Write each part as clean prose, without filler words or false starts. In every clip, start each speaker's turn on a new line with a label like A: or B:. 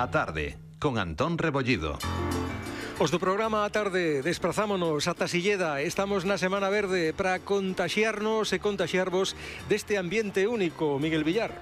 A: A tarde, con Antón Rebollido.
B: Os do programa A tarde desprazámonos ata Silleda. Estamos na Semana Verde para contaxiarnos e contaxiarvos deste ambiente único, Miguel Villar.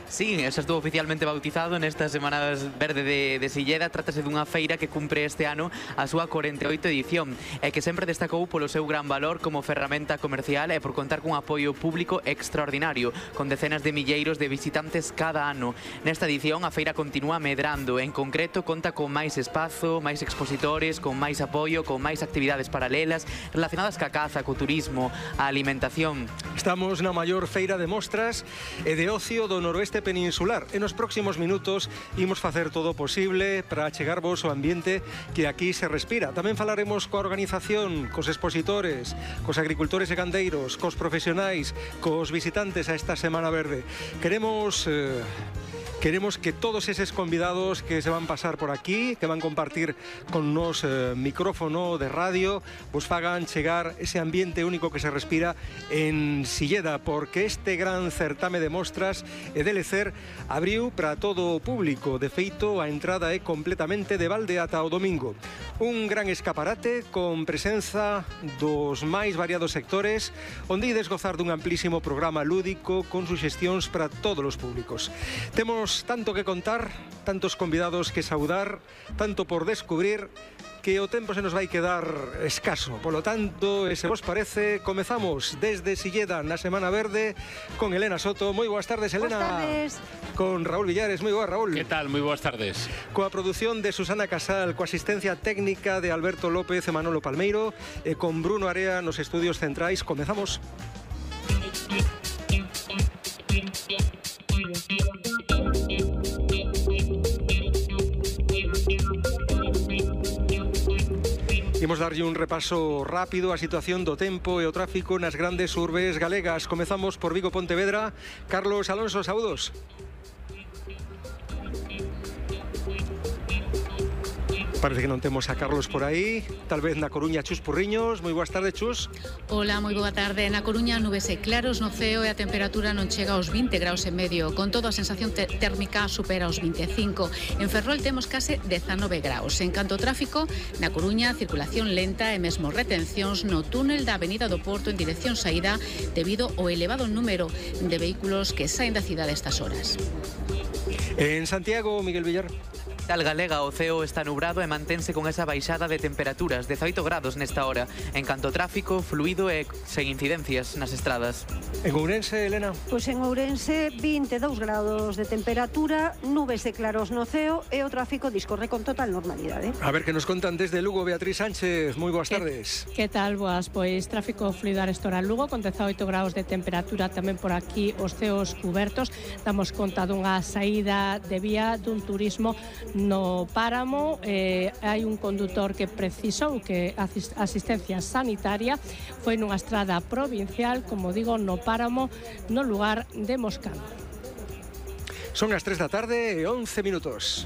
C: Sí, eso estuvo oficialmente bautizado nesta Semana Verde de Silleda. Trátase dunha feira que cumpre este ano a súa 48 edición e que sempre destacou polo seu gran valor como ferramenta comercial e por contar cun apoio público extraordinario, con decenas de milleiros de visitantes cada ano. Nesta edición a feira continúa medrando, en concreto conta con máis espazo, máis expositores, con máis apoio, con máis actividades paralelas relacionadas ca caza, co turismo, a alimentación.
B: Estamos na maior feira de mostras e de ocio do noroeste peninsular. En os próximos minutos imos facer todo o posible para achegarvos o ambiente que aquí se respira. Tamén falaremos coa organización, cos expositores, cos agricultores e gandeiros, cos profesionais, cos visitantes a esta Semana Verde. Queremos que todos eses convidados que se van pasar por aquí, que van compartir con nos micrófono de radio, vos fagan chegar ese ambiente único que se respira en Silleda, porque este gran certame de mostras e de lecer abriu para todo o público. De feito, a entrada é completamente de balde ata o domingo. Un gran escaparate con presenza dos máis variados sectores, onde ides gozar dun amplísimo programa lúdico con suxestións para todos os públicos. Temos tanto que contar, tantos convidados que saudar, tanto por descubrir, que o tempo se nos vai quedar escaso. Polo tanto, se vos parece, comezamos desde Silleda na Semana Verde con Elena Soto. Moi boas tardes, Elena.
D: Boas tardes.
B: Con Raúl Villares. Moi boas, Raúl.
E: Que tal? Moi boas tardes.
B: Coa produción de Susana Casal, coa asistencia técnica de Alberto López e Manolo Palmeiro, e con Bruno Area nos estudios centrais. Comezamos. Imos darlle un repaso rápido á situación do tempo e o tráfico nas grandes urbes galegas. Comezamos por Vigo, Pontevedra. Carlos Alonso, saúdos. Parece que non temos a Carlos por aí. Tal vez na Coruña, Chus Purriños. Moi boas tardes, Chus.
F: Hola, moi boa tarde. Na Coruña, nubes e claros no ceo e a temperatura non chega aos 20 graus e medio. Con todo, a sensación térmica supera os 25. En Ferrol temos case 19 graus. En canto ao tráfico, na Coruña, circulación lenta e mesmo retencións no túnel da Avenida do Porto en dirección saída debido ao elevado número de vehículos que saen da cidade a estas horas.
B: En Santiago, Miguel Villar.
C: Tal galega, o ceo está nubrado e mantense con esa baixada de temperaturas, 18 grados nesta hora. En canto ao tráfico, fluido e sen incidencias nas estradas.
B: En Ourense, Elena?
D: Pois en Ourense, 22 grados de temperatura, nubes e claros no ceo e o tráfico discorre con total normalidade.
B: A ver que nos contan desde Lugo, Beatriz Sánchez. Moi boas tardes.
G: Que tal, boas? Pois tráfico fluido a esta hora en Lugo, con 18 graus de temperatura, tamén por aquí os ceos cubertos. Damos conta dunha saída de vía dun turismo no páramo. Hai un condutor que precisou que asistencia sanitaria. Foi nunha estrada provincial, como digo, no páramo, no lugar de Moscán.
B: Son as 3 da tarde e 11 minutos.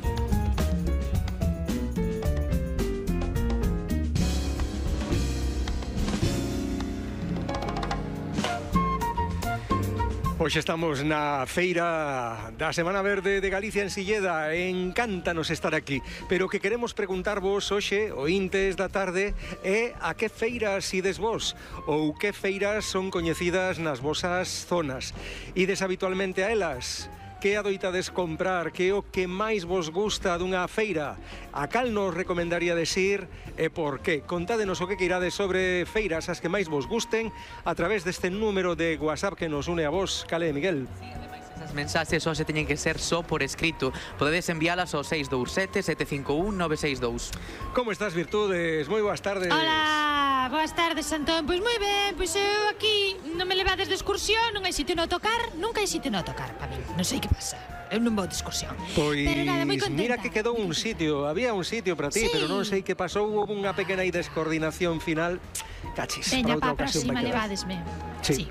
B: Hoxe estamos na feira da Semana Verde de Galicia en Silleda. Encántanos estar aquí, pero que queremos preguntarvos hoxe, ointes da tarde, é a que feiras ides vos, ou que feiras son coñecidas nas vosas zonas. Ides habitualmente a elas? Que adoitades comprar? Que é o que máis vos gusta dunha feira? A cal nos recomendaríades ir e por qué? Contádenos o que queirades sobre feiras as que máis vos gusten a través deste número de WhatsApp que nos une a vos. Cale, Miguel?
C: As mensaxes só se teñen que ser só por escrito. Podedes enviálas ao 627 751 962.
B: Como estás, Virtudes? Moi boas tardes.
H: Hola, boas tardes, Antón. Pois moi ben, pois eu aquí non me levades de excursión, non hai sitio no tocar, nunca hai sitio no tocar para min. Non sei que pasa. Eu non vou de excursión.
B: Pois
H: pero nada, moi contenta.
B: Mira que quedou un sitio, había un sitio para ti, sí, pero non sei que pasou, houve unha pequena descoordinación final. Cachis,
H: veña,
B: para outra
H: para a
B: ocasión
H: próxima
B: vai quedar.
H: levadesme.
B: Sí.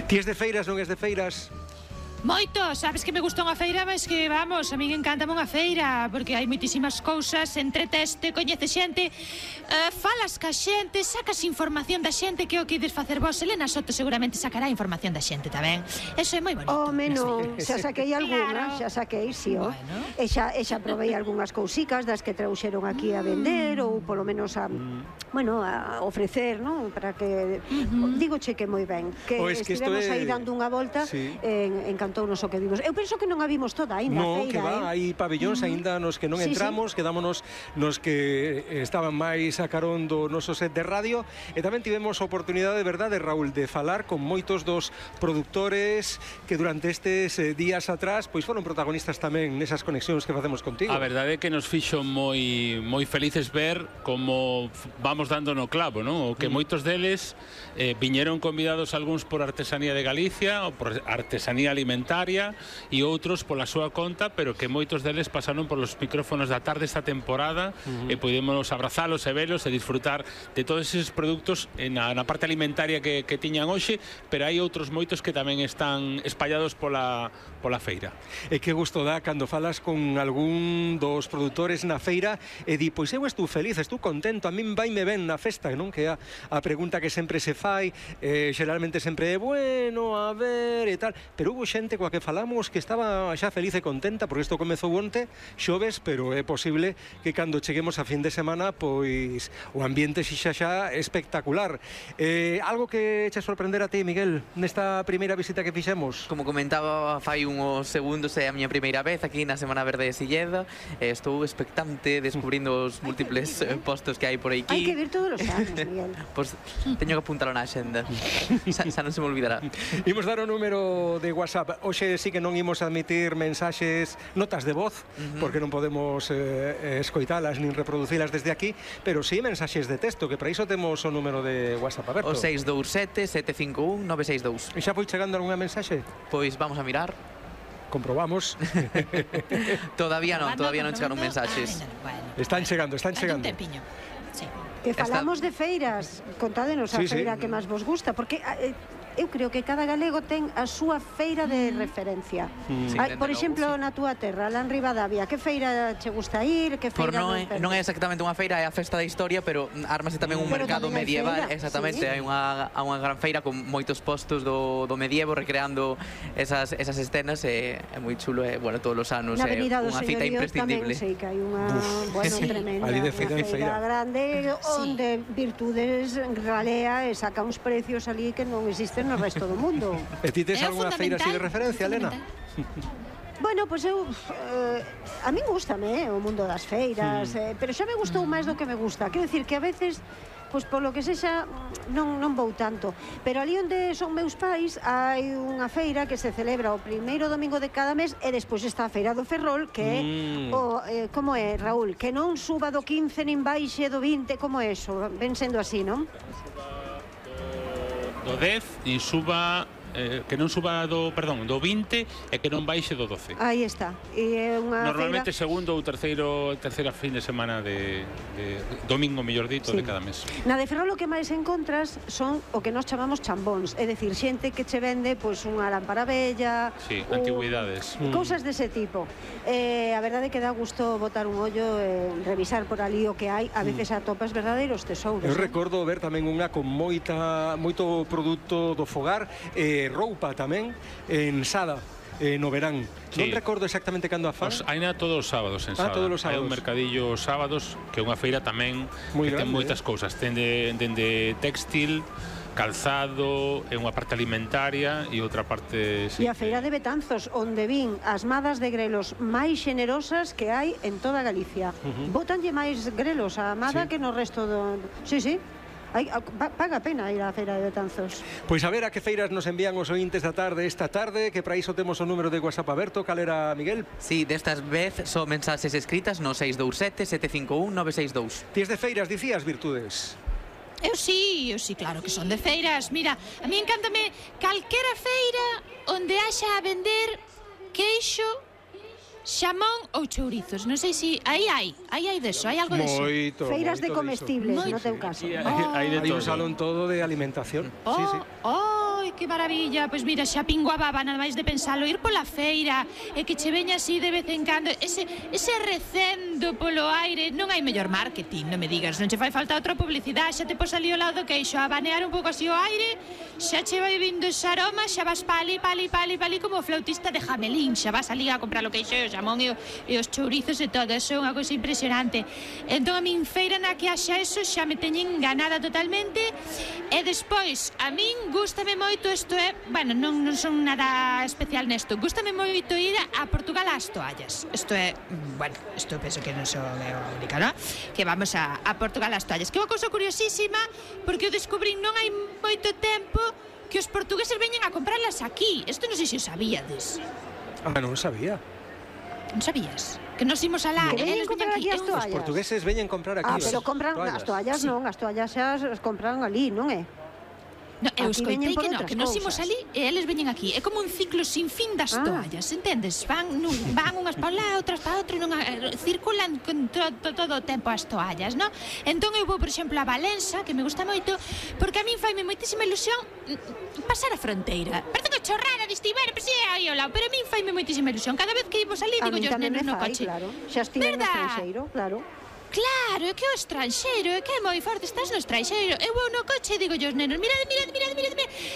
B: Ti es de feiras, non es de feiras?
H: Moito, sabes que me gusta unha feira, mas que, vamos, a min encantame unha feira, porque hai moitísimas cousas, entreteste, coñece xente, falas ca xente, sacas información da xente, que é o que ides facer vos. Elena Soto seguramente sacará información da xente tamén. Eso é moi bonito.
D: Home, non, xa saquei algunhas, xa saquei, si, ó. E xa provei algunhas cousicas das que trouxeron aquí a vender, ou polo menos a, bueno, a ofrecer, non? Para que, digoche que moi ben, que estivemos aí dando unha volta, encantounos o que vimos. Eu penso que non a vimos toda aínda, a feira,
B: que va, hai pabellóns aínda nos que non entramos, quedámonos nos que estaban máis a carón do noso set de radio, e tamén tivemos a oportunidade, de verdade, Raúl, de falar con moitos dos produtores que durante estes días atrás pois foron protagonistas tamén nesas conexións que facemos contigo.
E: A verdade é que nos fixo moi felices ver como vamos dando no clavo, non? O que moitos deles viñeron convidados algúns por Artesanía de Galicia ou por Artesanía Alimentaria e outros pola súa conta, pero que moitos deles pasaron polos micrófonos da tarde esta temporada e podemos abrazalos e velos e disfrutar de todos eses produtos na parte alimentaria que tiñan hoxe, pero hai outros moitos que tamén están espallados pola feira.
B: E que gusto dá cando falas con algún dos produtores na feira e di, pois eu estou feliz, estou contento, a min vaime ben na festa, non? Que é a pregunta que sempre se fai, xeralmente sempre é bueno, a ver e tal, pero hubo xente coa que falamos que estaba xa feliz e contenta, porque isto comezou onte, xoves, pero é posible que cando cheguemos a fin de semana, pois o ambiente xixa xa espectacular. Algo que che sorprender a ti, Miguel, nesta primeira visita que fixemos?
C: Como comentaba fai uns segundos, é a miña primeira vez aquí na Semana Verde de Silleda. Estou expectante descubrindo os múltiples postos que hai por aquí.
D: Hai que vir todos os anos, Miguel.
C: Pois teño que apuntalo na xenda. Xa non se me olvidará.
B: Imos dar o número de WhatsApp. Hoxe sí que non imos admitir mensaxes, notas de voz, porque non podemos escoitalas nin reproducilas desde aquí, pero sí mensaxes de texto, que para iso temos o número de WhatsApp aberto.
C: O 627-751-962.
B: E xa foi chegando algunha mensaxe?
C: Pois vamos a mirar.
B: Comprobamos.
C: Todavía non chegaron mensaxes.
B: Están chegando.
H: Un tempiño. Sí.
D: Que falamos de feiras, contádenos a feira que máis vos gusta, porque eu creo que cada galego ten a súa feira de referencia. Por exemplo, na túa terra, lá en Ribadavia, que feira che gusta ir? Que feira
C: non é exactamente unha feira, é a festa da historia, pero ármase tamén un mercado medieval. Exactamente, hai unha gran feira con moitos postos do medievo recreando esas escenas, é moi chulo, e, bueno, todos os anos é unha cita imprescindible.
D: Tamén sei que hai unha, tremenda
B: feira
D: grande, onde Virtudes ralea e saca uns precios ali que non existen no resto do mundo.
B: E ti tes algunha feira así de referencia, Elena?
D: Bueno, pois eu a min gústame o mundo das feiras, pero xa me gustou máis do que me gusta. Quero dicir que a veces, pois polo que sexa, non vou tanto. Pero ali onde son meus pais hai unha feira que se celebra o primeiro domingo de cada mes e despois está a Feira do Ferrol, que é como é, Raúl? Que non suba do 15 nin baixe do 20, como é eso? Ven sendo así, non?
E: Do 10 e suba que non suba do 20 e que non baixe do 12.
D: Aí está. E é unha
E: normalmente
D: feira...
E: segundo ou terceira fin de semana de domingo, mellor dito, de cada mes.
D: Na de Ferrol o que máis encontras son o que nós chamamos chambóns, é dicir, xente que che vende pois unha lámpara bella,
E: antigüidades,
D: cousas dese tipo. A verdade é que dá gusto botar un ollo e revisar por ali o que hai, a veces atopas verdadeiros tesouros.
B: Eu recordo ver tamén unha con moito produto do fogar, roupa tamén en Sada, no verán. Non recordo exactamente cando a fan.
E: Aina todos os sábados en Sada.
B: Todos os sábados.
E: Hai un mercadillo os sábados, que é unha feira tamén que ten moitas cousas. Ten dende textil, calzado, é unha parte alimentaria e outra parte...
D: E a feira de Betanzos, onde vin as madas de grelos máis xenerosas que hai en toda Galicia. Bótanlle máis grelos a amada que no resto do... Sí. Paga a pena ir á feira de Betanzos.
B: Pois a ver a que feiras nos envían os ointes da tarde esta tarde, que para iso temos o número de WhatsApp aberto. Cal era, Miguel?
C: Sí, destas vez son mensaxes escritas no 627-751-962.
B: Ties de feiras, dicías, Virtudes?
H: Eu sí, claro que son de feiras. Mira, a mí encántame calquera feira onde haxa a vender queixo, xamón ou chourizos. Non sei se hai deso, hai algo deso.
D: Feiras de comestibles, no teu caso.
B: Hai un salón todo de alimentación.
H: Ai, que maravilla. Pois mira, xa pingo a baba nada máis de pensalo, ir pola feira e que che veña así de vez en cando ese recendo polo aire. Non hai mellor marketing, non me digas, non che fai falta outra publicidade, xa te pos ali ao lado do queixo a banear un pouco así o aire, xa che vai vindo ese aroma, xa vas pali como o flautista de Jamelín, xa vas ali a comprar o queixo e o xamón e os chourizos e todo, eso é unha cousa impresionante. Entón a min feira na que haxa eso xa me teñen enganada totalmente. E despois, a min gústame moito, isto é, bueno, non son nada especial nesto, gústame moito ir a Portugal ás toallas. Isto é, bueno, isto penso que non son a única, non? Que vamos a Portugal ás toallas, que é unha cousa curiosísima, porque o descubrín non hai moito tempo que os portugueses veñen a comprarlas aquí. Isto non sei se o sabíades.
B: Non sabía.
H: Non sabías? Que nos imos alá,
D: Que veñen comprar aquí as toallas.
B: Os portugueses veñen comprar aquí.
D: Pero compran as toallas, non, as toallas xa as compran ali, non é?
H: No, eu
D: Aquí
H: escoitei
D: veñen por
H: que non,
D: outras
H: que nos imos
D: cousas.
H: ali e eles veñen aquí. É como un ciclo sin fin das toallas, entendes? Van unhas para lá, outras para outro, circulan con todo o tempo as toallas, non? Entón eu vou, por exemplo, a Valença, que me gusta moito, porque a min faime moitísima ilusión pasar a fronteira. Parece unha chorrada de estiver, pero aí ao lado, pero a min faime moitísima ilusión. Cada vez que imos ali, digo yo os nenos no coche.
D: Claro, xa estive no estranxeiro, claro.
H: Claro, é que o estranxeiro, é que é moi forte, estás no estranxeiro. Eu vou no coche e digo yo os nenos, mirade,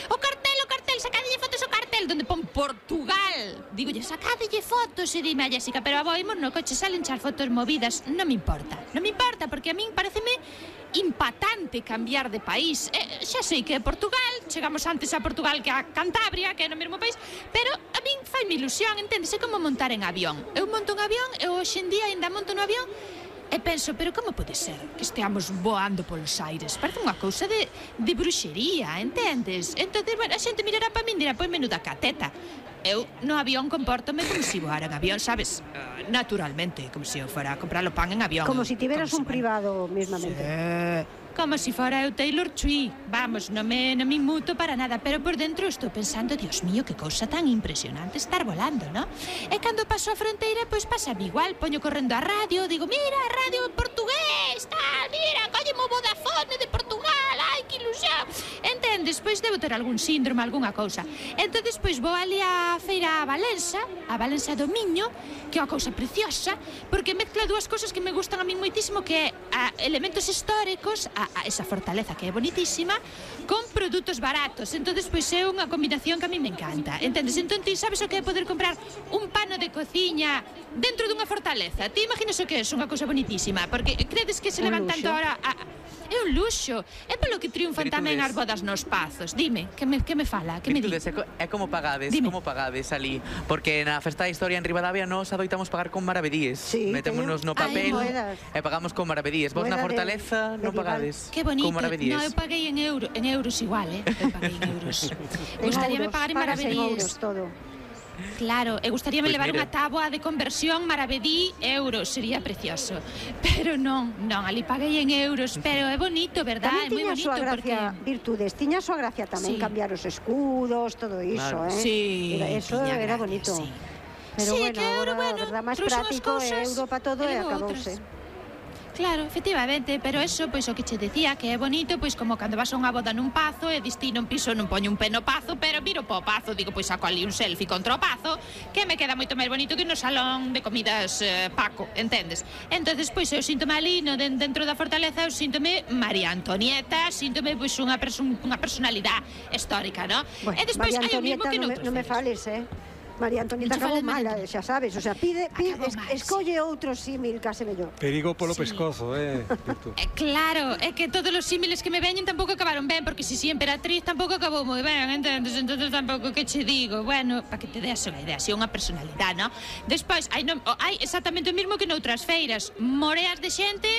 H: o cartel, sacadelle fotos ao cartel, donde pon Portugal. Digo yo, sacadelle fotos, e dime a Jessica, pero aboimos no coche, salen chas fotos movidas. Non me importa, porque a min pareceme impatante cambiar de país. Xa sei que é Portugal, chegamos antes a Portugal que a Cantabria, que é no mesmo país, pero a min faime ilusión, entendes? É como montar en avión. Eu monto un avión, eu hoxe en día ainda monto no avión, e penso, pero como pode ser que esteamos voando polos aires? Parece unha cousa de bruxería, entendes? Entón, bueno, a xente mirará para min e dirá, pois menuda cateta. Eu no avión comportome como se voara en avión, sabes? Naturalmente, como se eu fora a comprar o pan en avión.
D: Como se tiveras un privado, mesmamente.
H: Como se fora eu Taylor Swift. Vamos, non me inmuto para nada, pero por dentro estou pensando, Dios mío, que cousa tan impresionante estar volando, ¿no? E cando paso a fronteira, pois pásame igual, poño correndo a radio, digo, mira, radio en portugués, tal, mira, colleme o Vodafone de Portugal, ai, que ilusión. Entendes? Pois debo ter algún síndrome, algunha cousa. Entón, pois vou ali á feira a Valença do Miño, que é unha cousa preciosa, porque mezcla dúas cousas que me gustan a mí moitísimo, que é elementos históricos, a esa fortaleza que é bonitísima, con produtos baratos. Entón, pois é unha combinación que a mí me encanta. Entendes? Entón, ti sabes o que é poder comprar un pano de cociña dentro dunha fortaleza? Ti imaginas o que é unha cousa bonitísima? Porque credes que se levan tanto ahora é un luxo. É polo que triunfan tamén as bodas nos pazos. Dime, que me fala? Que me di?
C: É como pagades,
H: Dime.
C: como pagades ali? Porque na Festa da Historia en Ribadavia nos adoitamos pagar con maravedíes.
D: Sí,
C: metémonos no papel e pagamos con maravedíes. Vos na Fortaleza non pagades
H: Que bonito.
C: con maravedíes.
H: No, eu paguei en euros igual, Eu paguei en euros. Gustaríame pagar en maravedíes.
D: Todo.
H: Claro, e gustaríame
C: Pois
H: levar
C: mire.
H: unha táboa de conversión maravedí euros, sería precioso. Pero non, ali paguei en euros, pero é bonito, verdad? É
D: Tamén
H: moi
D: tiña a
H: bonito
D: súa gracia, virtudes, tiña a súa gracia tamén
H: Sí.
D: cambiar os escudos, todo iso,
C: Claro.
H: Sí,
D: Eso
H: tiña
D: era
H: gracia,
D: bonito.
H: sí.
D: Pero
H: Sí,
D: bueno,
H: que euro,
D: agora,
H: bueno,
D: verdad, máis
H: trouxen as
D: práctico
H: cousas,
D: euro para todo e
H: levo
D: acabouse.
H: outras. Claro, efectivamente, pero eso, pois o que che decía, que é bonito, pois como cando vas a unha boda nun pazo e distino un piso, non poño un pé no pazo, pero miro po pazo, digo, pois saco ali un selfie contra o pazo, que me queda moito máis bonito que no salón de comidas Paco, entendes? Entonces, pois eu síntome ali, no, dentro da fortaleza, eu síntome María Antonieta, síntome pois unha personalidade histórica, ¿no?
D: Bueno,
H: E despois
D: María
H: hai o mismo
D: Antonieta
H: que
D: non
H: noutros
D: me fales, María Antonieta
H: Non che
D: acabou
H: fales, María
D: mal, xa sabes, o sea, pide
H: Acabou mal,
D: escolle outro símil case mellor.
B: Perigo polo
H: Sí.
B: pescozo, Virtu.
H: Claro, é que todos os símiles que me veñen tampouco acabaron ben, porque si emperatriz tampouco acabou moi ben, entendes? Entonces tampouco que che digo, bueno, para que te deas unha idea, así unha personalidade, ¿no? Despois, hai exactamente o mismo que noutras feiras, moreas de xente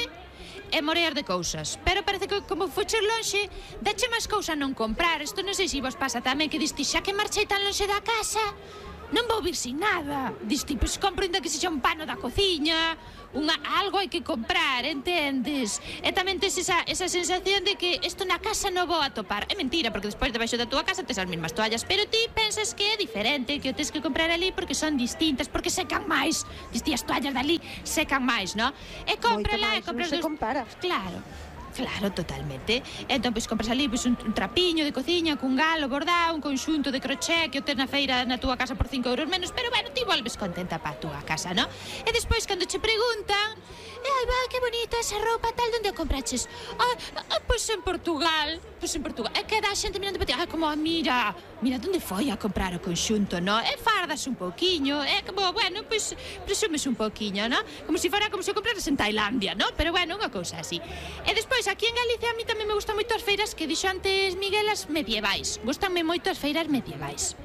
H: e moreas de cousas, pero parece que como foches lonxe, dache máis cousa non comprar. Isto non sei se vos pasa tamén, que diste, xa que marchei tan lonxe da casa, non vou vir sin nada. Diste, pois compro ainda que sexa un pano da cociña, algo hai que comprar, entendes? E tamén tes esa sensación de que isto na casa non vou atopar. É mentira, porque despois debaixo da túa casa tes as mesmas toallas, pero ti pensas que é diferente, que o tes que comprar ali porque son distintas, porque secan máis. Diste, as toallas dali secan máis, non? E compra lá, e compra
D: non se compara.
H: Claro. Claro, totalmente. Entón, pois, compras ali pois, un trapiño de cociña cun galo bordado, un conxunto de crochet que o tes na feira na túa casa por 5 euros menos, pero, bueno, ti volves contenta pa túa casa, non? E despois, cando che preguntan, ai, va, que bonita esa roupa, tal, onde a compraches? Pois en Portugal. É que dá xente mirando para ti, como, mira, onde foi a comprar o conxunto, non? E fardas un pouquiño, é como, bueno, pois, presumes un pouquiño, non? Como se compraras en Tailandia, non? Pero, bueno, unha cousa así. E despois, aquí en Galicia, a mí tamén me gustan moito as feiras que dixo antes Miguel, as medievais. Gustanme moito as feiras medievais.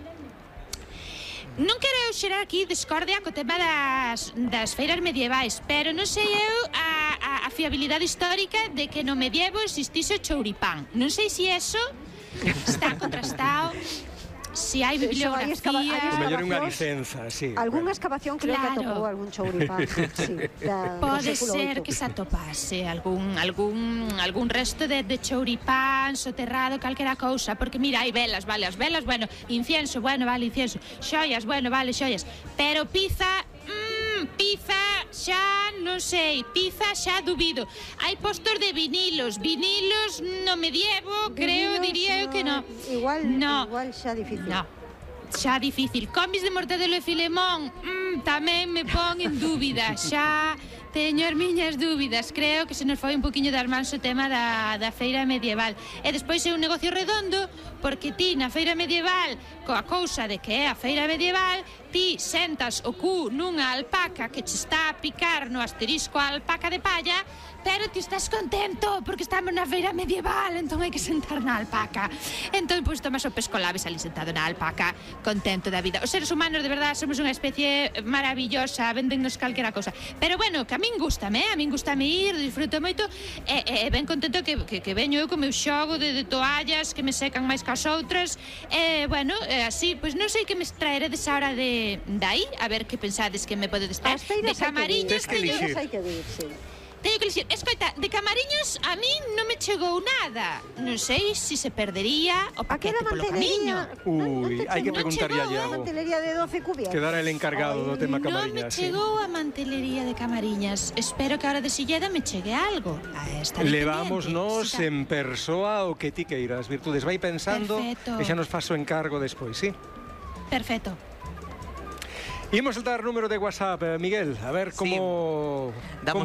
H: Non quero eu xerar aquí discordia co tema das feiras medievais, pero non sei eu a fiabilidade histórica de que no medievo existise o chouripán. Non sei se eso está contrastado, se hai bibliografía...
B: O mellor unha licenza, sí.
D: Algúnha excavación creo que atopou algún chouripán.
H: Pode ser que se atopase algún resto de chouripán soterrado, calquera cousa, porque mira, hai velas, vale, as velas, bueno, incienso, bueno, vale, incienso, xoias, bueno, vale, xoias, pero pizza xa non sei, pizza xa dubido. Hai postos de vinilos no medievo, creo, diría eu que non.
D: Igual xa difícil.
H: No, xa difícil. Comis de mortadelo e filemón, tamén me pon en dúbida, xa teño as miñas dúbidas. Creo que se nos foi un poquinho das mans o tema da feira medieval. E despois é un negocio redondo, porque ti na feira medieval, coa cousa de que é a feira medieval, ti sentas o cu nunha alpaca que che está a picar no asterisco a alpaca de palla, pero ti estás contento porque estamos na feira medieval, entón hai que sentar na alpaca. Entón, pois, tomas o pescolabes ali sentado na alpaca, contento da vida. Os seres humanos, de verdade, somos unha especie maravillosa, véndennos calquera cousa. Pero, bueno, que a min gustame ir, disfruto moito, e ben contento que veño eu co meu xogo de toallas que me secan máis que as outras, bueno, así, pois non sei que me traeredes a hora de aí, a ver que pensades que me podedes traer. De Camariñas,
D: hai que vir, sí.
H: Teño que dicir, escoita, de Camariñas a mí non me chegou nada. Non sei se se perdería o paquete polo camiño.
B: Hai que preguntarlle a
D: A
B: Iago.
D: mantelería de 12 cubias.
B: Quedara el encargado do tema Camariñas.
H: Non me chegou a mantelería de Camariñas. Espero que a hora de Silleda me chegue algo.
B: Levámonos en persoa o que ti queiras, Virtudes. Vai pensando e xa nos faso encargo despois, sí?
H: Perfecto.
B: Imos saltar número de WhatsApp, Miguel, a ver como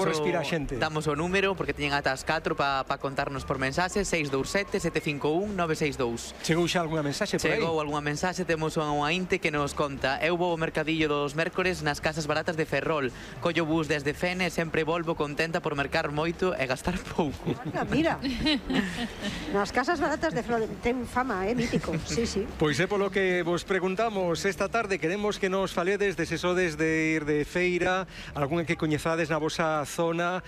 B: respira a xente.
C: Damos o número, porque teñen ata as 4 para contarnos por mensaxe, 627-751-962.
B: Chegou xa algunha mensaxe por aí?
C: Chegou algunha mensaxe, temos unha inte que nos conta: eu vou ao mercadillo dos mércores nas casas baratas de Ferrol, collo bus desde Fene e sempre volvo contenta por mercar moito e gastar pouco.
D: Mira, nas casas baratas de Ferrol ten fama, mítico, sí, sí.
B: Pois é polo que vos preguntamos esta tarde, queremos que nos faledes de se sodes de ir de feira, algunha que coñezades na vosa zona,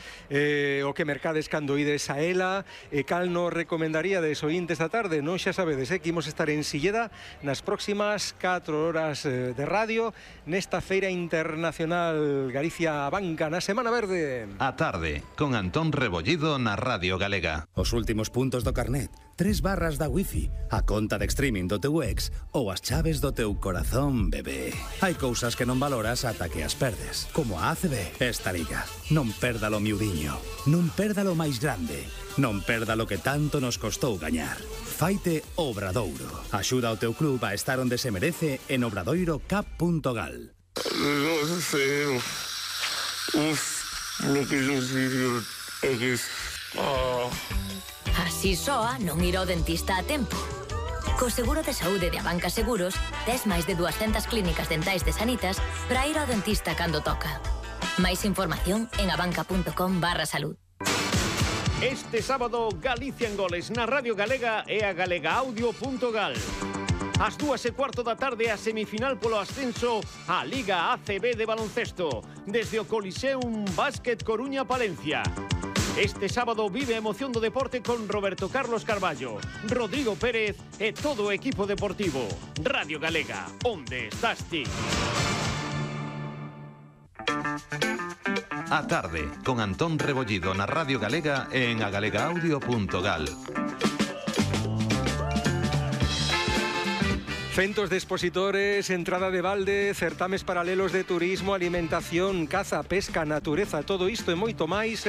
B: o que mercades cando ides a ela, cal nos recomendaríades oíntes esta tarde. Non xa sabedes, que imos estar en Silleda nas próximas 4 horas de radio nesta feira internacional Galicia Banca na Semana Verde.
A: A tarde, con Antón Rebollido na Radio Galega.
I: Os últimos puntos do carnet, 3 barras da wifi, a conta de streaming do teu ex ou as chaves do teu corazón, bebé. Hai cousas que non valoras ata que as perdes, como a ACB. Esta liga, non perdalo miudiño, non perdalo máis grande, non perdalo que tanto nos costou gañar. Faite Obradoiro. Axuda ao teu club a estar onde se merece en obradoirocap.gal.
J: Así soa non ir ao dentista a tempo. Co seguro de saúde de Abanca Seguros, tes máis de 200 clínicas dentais de Sanitas para ir ao dentista cando toca. Máis información en abanca.com/salud.
K: Este sábado, Galicia en goles na Radio Galega e a galegaaudio.gal. Ás 2:15 da tarde, a semifinal polo ascenso á Liga ACB de baloncesto, desde o Coliseum Básquet Coruña Palencia. Este sábado vive a emoción do deporte con Roberto Carlos Carballo, Rodrigo Pérez e todo o equipo deportivo. Radio Galega, onde estás ti?
A: A tarde, con Antón Rebollido na Radio Galega e en agalegaaudio.gal.
B: Centos de expositores, entrada de balde, certames paralelos de turismo, alimentación, caza, pesca, natureza, todo isto e moito máis,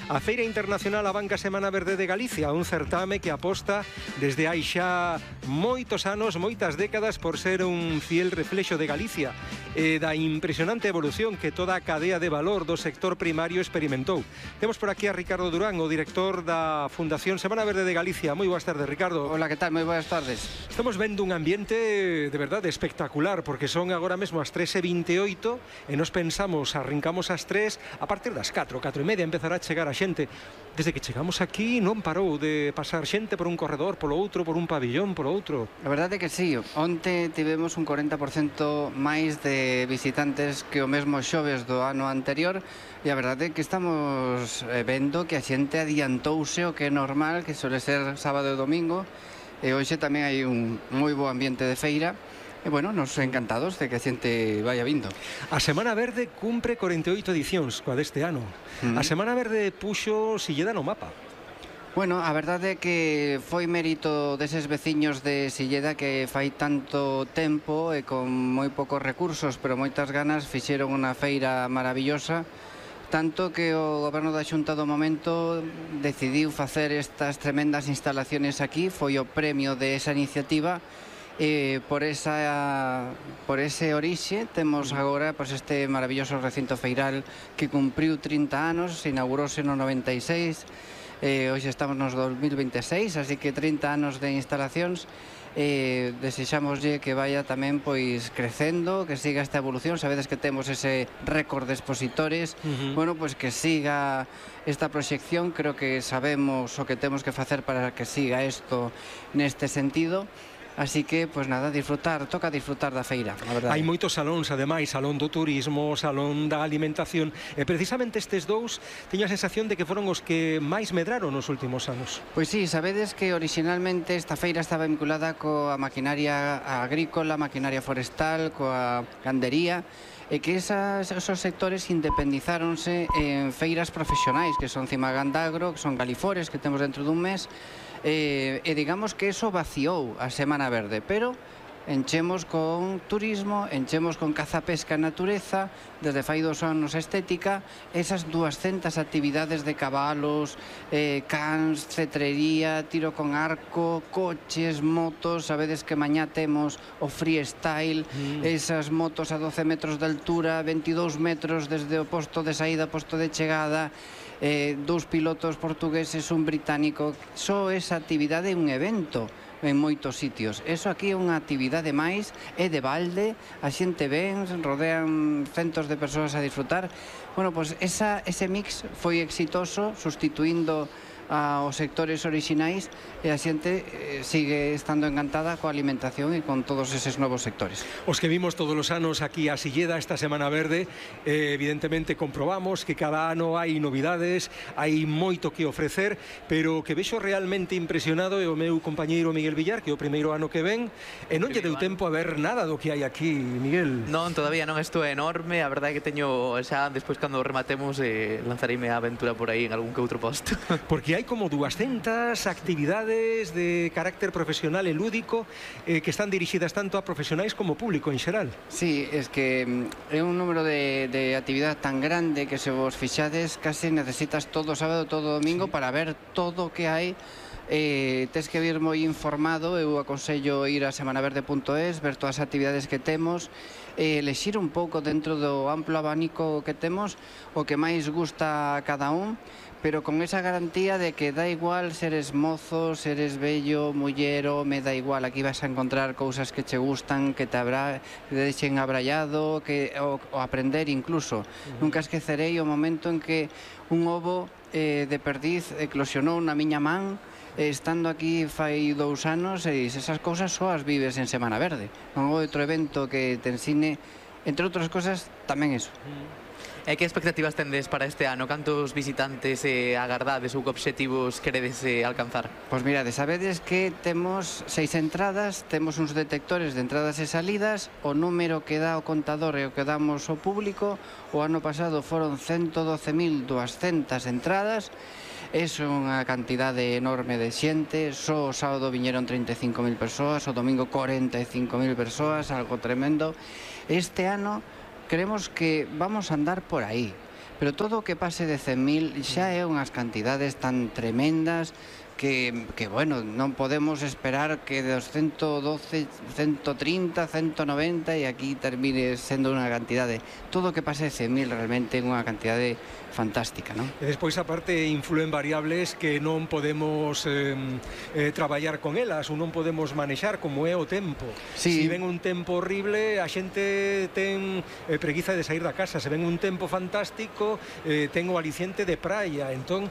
B: a Feira Internacional A Banca Semana Verde de Galicia, un certame que aposta desde hai xa moitos anos, moitas décadas, por ser un fiel reflexo de Galicia e da impresionante evolución que toda a cadea de valor do sector primario experimentou. Temos por aquí a Ricardo Durán, o director da Fundación Semana Verde de Galicia. Moi boas tardes, Ricardo.
L: Hola, que tal? Moi boas tardes.
B: Estamos vendo un ambiente de verdade espectacular, porque son agora mesmo as 3:28 e nos pensamos, arrancamos as 3, a partir das 4:30 empezará a chegar a xente. Desde que chegamos aquí non parou de pasar xente por un corredor, polo outro, por un pabillón, polo outro.
L: A verdade é que sí, onte tivemos un 40% máis de visitantes que o mesmo xoves do ano anterior, e a verdade é que estamos vendo que a xente adiantouse o que é normal, que suele ser sábado e domingo, e hoxe tamén hai un moi bo ambiente de feira. E, bueno, nos encantados de que a xente vaya vindo.
B: A Semana Verde cumpre 48 edicións, coa deste ano. A Semana Verde puxo Silleda no mapa.
L: Bueno, a verdade é que foi mérito deses veciños de Silleda que fai tanto tempo e con moi poucos recursos, pero moitas ganas, fixeron unha feira maravillosa, tanto que o goberno da Xunta do momento decidiu facer estas tremendas instalaciones aquí, foi o premio de esa iniciativa. Por ese orixe temos agora este maravilloso recinto feiral que cumpriu 30 anos, se inaugurouse no 96, hoxe estamos nos 2026, así que 30 anos de instalacións. Desexámoslle que vaya tamén pois crecendo, que siga esta evolución. Sabedes que temos ese récord de expositores. Bueno, pois que siga esta proxección. Creo que sabemos o que temos que facer para que siga isto neste sentido. Así que, pois nada, toca disfrutar da feira, a verdade.
B: Hai moitos salóns, ademais, salón do turismo, salón da alimentación, e precisamente estes dous teño a sensación de que foron os que máis medraron nos últimos anos.
L: Pois sí, sabedes que originalmente esta feira estaba vinculada coa maquinaria agrícola, maquinaria forestal, coa gandería, e que esos sectores independizáronse en feiras profesionais, que son Cimagandagro, que son Galifores, que temos dentro dun mes, e digamos que eso vaciou a Semana Verde, pero enchemos con turismo, enchemos con caza, pesca e natureza, desde fai 2 anos estética, esas 200 actividades de cabalos, cans, cetrería, tiro con arco, coches, motos. Sabedes que mañá temos o freestyle, esas motos a 12 metros de altura, 22 metros desde o posto de saída ao posto de chegada, 2 pilotos portugueses, un británico. Só esa actividade é un evento en moitos sitios. Eso aquí é unha actividade máis, é de balde, a xente ven, rodean centos de persoas a disfrutar. Bueno, pois ese mix foi exitoso, sustituindo aos sectores orixinais, e a xente sigue estando encantada coa alimentación e con todos eses novos sectores.
B: Os que vimos todos os anos aquí a Silleda esta Semana Verde, evidentemente comprobamos que cada ano hai novidades, hai moito que ofrecer, pero que vexo realmente impresionado é o meu compañeiro Miguel Villar, que é o primeiro ano que ven, e non lle deu tempo a ver nada do que hai aquí, Miguel.
C: Non, todavía non, isto é enorme, a verdade é que teño xa, despois cando rematemos, lanzareime a aventura por aí en algún que outro posto.
B: Porque hai como 200 actividades de carácter profesional e lúdico que están dirixidas tanto a profesionais como público en xeral.
L: Sí, es que é un número de actividade tan grande que se vos fixades casi necesitas todo sábado, todo domingo para ver todo o que hai. Tes que vir moi informado. Eu aconsello ir a semanaverde.es, ver todas as actividades que temos, elexir un pouco dentro do amplo abanico que temos o que máis gusta a cada un, pero con esa garantía de que da igual seres mozo, seres bello, mullero, me da igual, aquí vas a encontrar cousas que che gustan, que te deixen abrallado, o aprender incluso. Nunca esquecerei o momento en que un ovo de perdiz eclosionou na miña man, estando aquí fai 2 anos, e esas cousas só as vives en Semana Verde. Non houve outro evento que te ensine, entre outras cosas, tamén eso.
C: E que expectativas tendes para este ano? Cantos visitantes agardades ou que obxectivos queredes alcanzar?
L: Pois mirade, sabedes que temos 6 entradas, temos uns detectores de entradas e salidas, o número que dá o contador e o que damos ao público. O ano pasado foron 112.200 entradas, É unha cantidade enorme de xente, só o sábado viñeron 35.000 persoas, o domingo 45.000 persoas, algo tremendo. Este ano creemos que vamos a andar por aí, pero todo o que pase de 100.000 xa é unhas cantidades tan tremendas que bueno, non podemos esperar que dos 112, 130, 190 e aquí termine sendo unha cantidade. Todo o que pase de 100.000 realmente é unha cantidade fantástica, non?
B: E despois, aparte, influen variables que non podemos traballar con elas ou non podemos manexar, como é o tempo.
L: Sí.
B: Se ven un tempo horrible, a xente ten preguiza de sair da casa. Se ven un tempo fantástico, ten o aliciente de praia. Entón,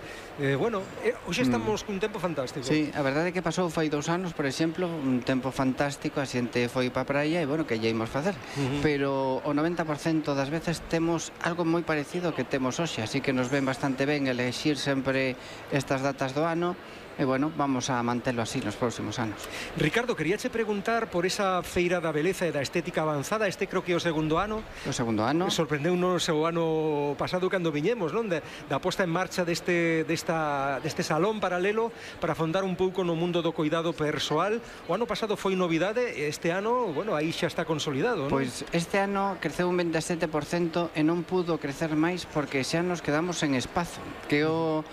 B: bueno, hoxe estamos cun tempo fantástico.
L: Sí, a verdade é que pasou fai 2 anos, por exemplo, un tempo fantástico, a xente foi pa praia e, bueno, que lle imos facer. Pero o 90% das veces temos algo moi parecido que temos hoxe, así que nos ven bastante ben elexir sempre estas datas do ano. E, bueno, vamos a mantelo así nos próximos anos.
B: Ricardo, queríache preguntar por esa feira da beleza e da estética avanzada. Este creo que é o segundo ano.
L: O segundo ano.
B: Sorprendeu-nos o ano pasado cando viñemos, non? Da posta en marcha deste salón paralelo para afondar un pouco no mundo do cuidado persoal. O ano pasado foi novidade, este ano, bueno, aí xa está consolidado, non?
L: Pois este ano creceu un 27% e non pudo crecer máis porque xa nos quedamos en espazo, que o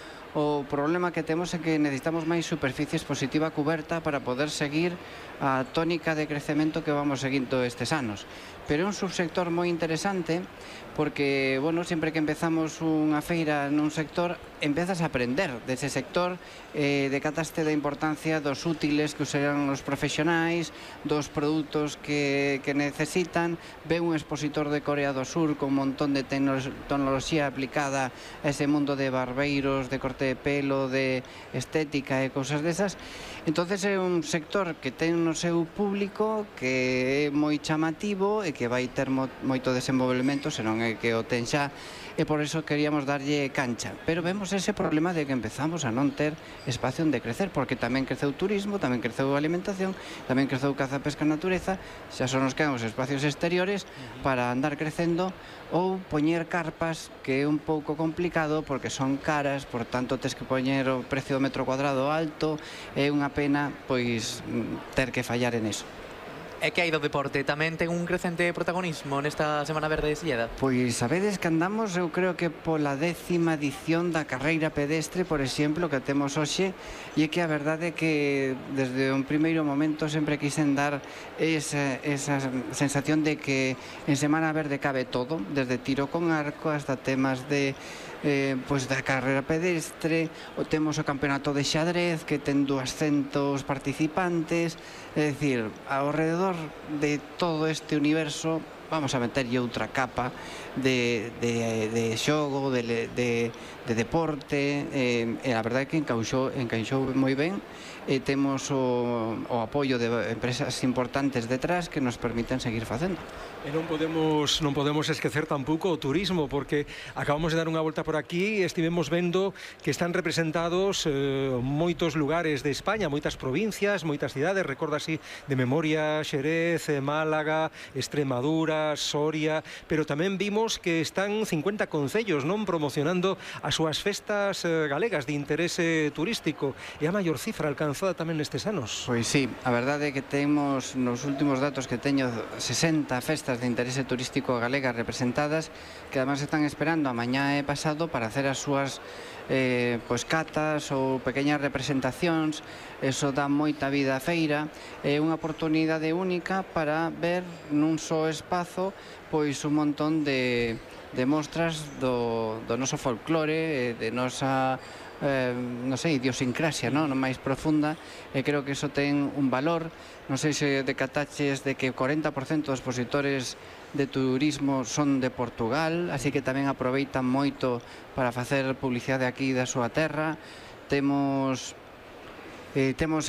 L: problema que temos é que necesitamos máis superficie expositiva cuberta para poder seguir a tónica de crecemento que vamos seguindo estes anos. Pero é un subsector moi interesante porque, bueno, sempre que empezamos unha feira nun sector, empezas a aprender dese sector, decataste da importancia dos útiles que usarán os profesionais, dos produtos que necesitan, ve un expositor de Corea do Sur con un montón de tecnoloxía aplicada a ese mundo de barbeiros, de corte de pelo, de estética e cousas desas. Entonces é un sector que ten no seu público que é moi chamativo e que vai ter moito desenvolvemento, senón é que o ten xa, e por eso queríamos darlle cancha. Pero vemos ese problema de que empezamos a non ter espacio onde crecer, porque tamén creceu turismo, tamén creceu alimentación, tamén creceu caza, pesca, natureza, xa son os que os espacios exteriores para andar crecendo, ou poñer carpas, que é un pouco complicado porque son caras, por tanto tes que poñer o precio do metro cuadrado alto, é unha pena pois ter que fallar en eso.
C: E que hai do deporte? Tamén ten un crecente protagonismo nesta Semana Verde de Silleda?
L: Pois sabedes que andamos, eu creo que pola 10ª edición da carreira pedestre, por exemplo, que temos hoxe, e é que a verdade é que desde un primeiro momento sempre quixen dar esa sensación de que en Semana Verde cabe todo, desde tiro con arco hasta temas de pois da carreira pedestre, o temos o campeonato de xadrez que ten 200 participantes, é dicir, ao redor de todo este universo vamos a meterlle outra capa de xogo, de deporte, e a verdade é que encaixou moi ben, e temos o apoio de empresas importantes detrás que nos permiten seguir facendo.
B: E non podemos esquecer tampouco o turismo, porque acabamos de dar unha volta por aquí e estivemos vendo que están representados moitos lugares de España, moitas provincias, moitas cidades, recordo así de memoria Xerez, Málaga, Extremadura, Soria, pero tamén vimos que están 50 concellos, non, promocionando as súas festas galegas de interese turístico, e a maior cifra alcanzada tamén nestes anos.
L: Pois sí, a verdade é que temos nos últimos datos que teño 60 festas de interese turístico galegas representadas, que además están esperando a mañá e pasado para hacer as súas pois catas ou pequeñas representacións. Eso dá moita vida á feira, é unha oportunidade única para ver nun só espazo pois un montón de mostras do noso folclore, de nosa non sei, idiosincrasia, non máis profunda, e creo que iso ten un valor. Non sei se decataches de que 40% dos expositores de turismo son de Portugal, así que tamén aproveitan moito para facer publicidade aquí da súa terra. Temos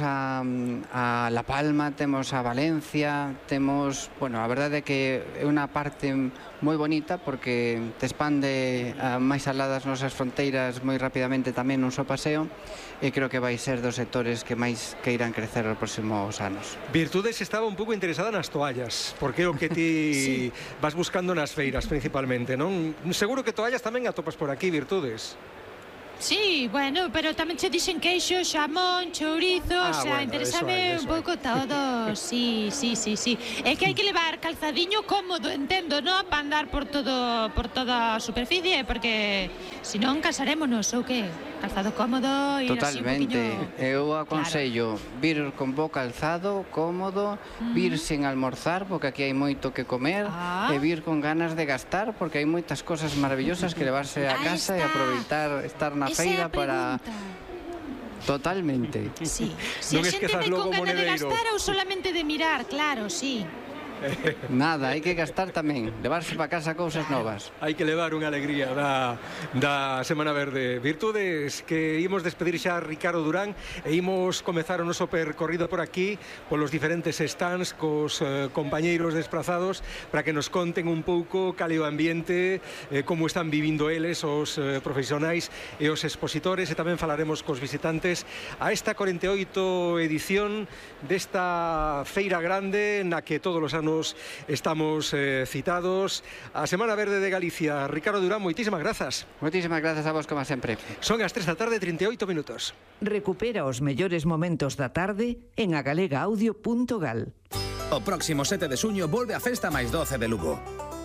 L: a La Palma, temos a Valencia, temos, bueno, a verdade é que é unha parte moi bonita porque te expande máis alá das nosas fronteiras moi rapidamente tamén nun só paseo, e creo que vai ser dos sectores que máis que irán crecer nos próximos anos.
B: Virtudes estaba un pouco interesada nas toallas, porque é o que ti vas buscando nas feiras principalmente, non? Seguro que toallas tamén atopas por aquí, Virtudes.
H: Sí, bueno, pero tamén che dixen queixo, xamón, chourizo, o sea,
B: bueno,
H: interésame un pouco todo. Sí. É que hai que levar calzadiño cómodo, entendo, non? Para andar por toda a superficie, porque senón casarémonos, ou que? Calzado cómodo, ir
L: Totalmente.
H: así un poquinho...
L: Eu aconsello vir con bo calzado, cómodo, vir sen almorzar, porque aquí hai moito que comer, e vir con ganas de gastar, porque hai moitas cosas maravillosas que levarse a casa e aproveitar estar na feira para... Totalmente.
H: Sí. Se a xente vai con ganas de gastar ou solamente de mirar, claro, sí.
L: Nada, hai que gastar tamén, levarse para casa cousas novas.
B: Hai que levar unha alegría da Semana Verde. Virtudes que imos despedir xa a Ricardo Durán e imos comezar o noso percorrido por aquí polos diferentes stands cos compañeiros desplazados para que nos conten un pouco cal é o ambiente, como están vivindo eles, os profesionais e os expositores, e tamén falaremos cos visitantes a esta 48 edición desta feira grande na que todos os anos estamos citados. A Semana Verde de Galicia. Ricardo Durán, moitísimas grazas.
L: Moitísimas grazas a vos, como sempre.
B: Son as 3 da tarde, 38 minutos.
M: Recupera os mellores momentos da tarde en agalegaudio.gal.
I: O próximo 7 de xuño volve a Festa máis 12 de Lugo.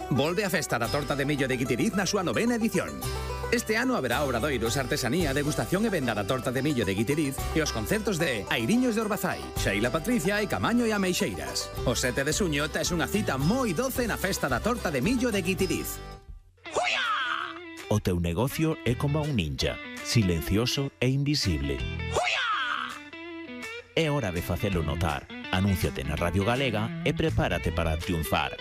I: Volve a Festa da Torta de Millo de Guitiriz na súa 9ª edición. Este ano haberá obradoiros, artesanía, degustación e venda da Torta de Millo de Guitiriz e os concertos de Airiños de Orbazai, Xeila Patricia e Camaño e Ameixeiras. O 7 de xuño tes unha cita moi doce na Festa da Torta de Millo de Guitiriz.
N: O teu negocio é como un ninja, silencioso e invisible. É hora de facelo notar. Anúnciate na Radio Galega e prepárate para triunfar.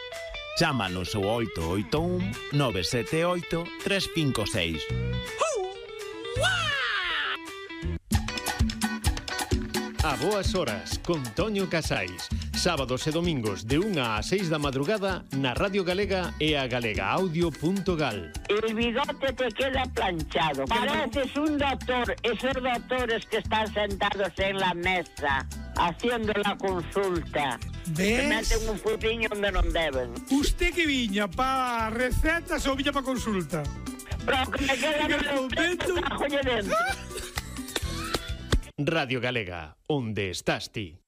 N: Chámanos ao 881 978 356.
K: A boas horas, con Toño Casais. Sábados e domingos de 1 a 6 da madrugada na Radio Galega e a galegaaudio.gal.
O: El bigote te queda planchado. Pareces un doctor. Esos doctores que están sentados en la mesa haciendo la consulta.
P: ¿Ves?
O: Se meten un futiño donde non deben.
P: Usted que viña pa recetas ou viña pa consulta?
O: Pero que me queda no momento dentro.
K: Radio Galega, onde estás ti.